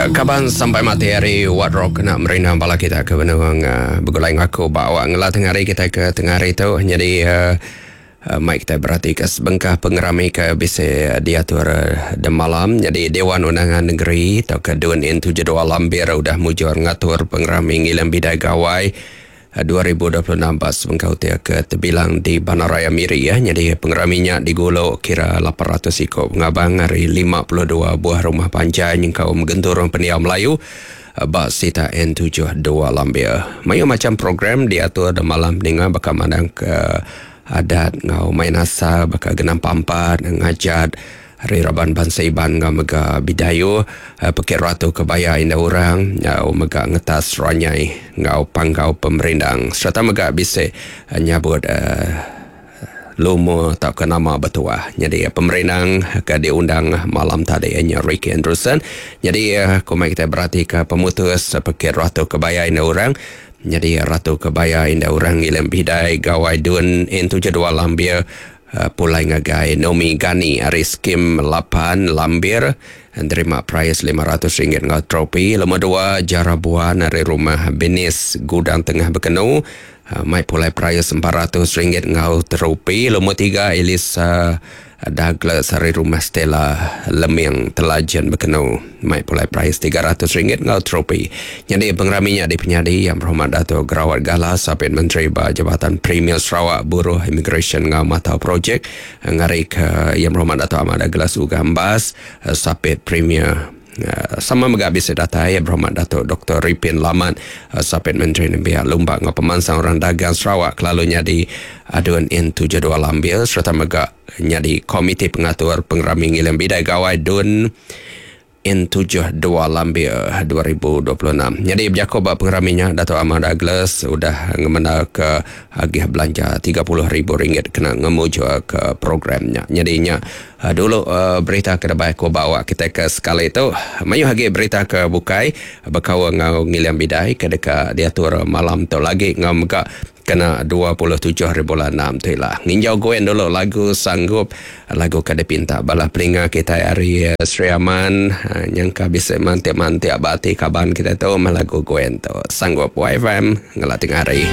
Ya, kaban sampai mati hari Wat Rock kena merindang bala kita ke benung uh, begulai ngaku ba awak ngela tengah hari kita ke tengah hari tu. Jadi uh, uh, mai kita berhati ke sebengkah pengerami ke bisa diatur uh, demalam. Jadi Dewan Undangan Negeri atau ke Dun N72 Lambir udah mujur ngatur pengerami ngilang bidai gawai 2026 ba sebengkah hotel ke tebilang di Bandaraya Miri ya. Jadi pengeraminya digulu kira 800 iko pengabang ari 52 buah rumah panjai nyengkaum genturung pendiau Melayu ba sita N72 Lambir. Mayuh macam program diatur malam ninga baka mandang ke adat ngau main asal baka genam pampat ngajat Ari raban bansa Iban enggau mega Bidayuh, Pekit Ratu Kebaya Indah Orang enggau mega ngetas ranyai enggau panggau pemerindang sereta mega bisi nyabut lumur tauka nama betuah. Nyadi pemerindang ke diundang malam tadi iya nya Ricky Andrewson. Nyadi ku mai kitai beratika pemutus Pekit Ratu Kebaya Indah Orang. Nyadi Ratu Kebaya Indah Orang ngiling bidai Gawai Dun N72 Lambir Pulai ngagai Nomi Gani ari Skim 8 Lambir nerima perais RM500 enggau tropi. Lumur 2 Jara Buan ari Rumah Benis Gudang Tengah Bekenu mai pulai perais RM400 enggau tropi. Lumur 3 Elisa Douglas ari Rumah Stella Leming Telajen Bekenu mai pulai perais RM300 enggau tropi. Nyadi pengerami nya dipenyadi Yang Berhormat Dato Gerawat Gala Sapit Menteri ba Jabatan Premier Sarawak Buruh Imigresen enggau Matau Projek ngarika Yang Berhormat Dato Ahmad Douglas Uggah Embas Sapit Premier sama mega bisi datai Yang Berhormat Dato Doktor Ripin Lamat Sapit Menteri Nembiak Lumba enggau Pemansang Orang Dagang Sarawak kelalu nyadi Adun N72 Lambir sereta mega nyadi Komiti Pengatur Pengerami Ngiling Bidai Gawai Dun N72 Lambir 2026. Nyadi bejaku ba pengerami nya, Datuk Amar Douglas udah ngemendarka agih belanja RM30,000 kena ngemujurka program nya. Nyadi nya dulu berita ke debai aku ba awak kitai ke sekali tu. Mayuh agi berita ke bukai bekaul enggau ngiling bidai ke deka diatur malam tu lagi enggau mega Kena 27 hari bulan 6 tu ila. Nginjau Gwen dulu lagu Sanggup, lagu ke dipinta bala peninga kitai ari Sri Aman. Nyangka bisi mantik-mantik ba ati kaban kitai tu meh lagu Gwen tu. Sanggup YFM ngela tengah hari.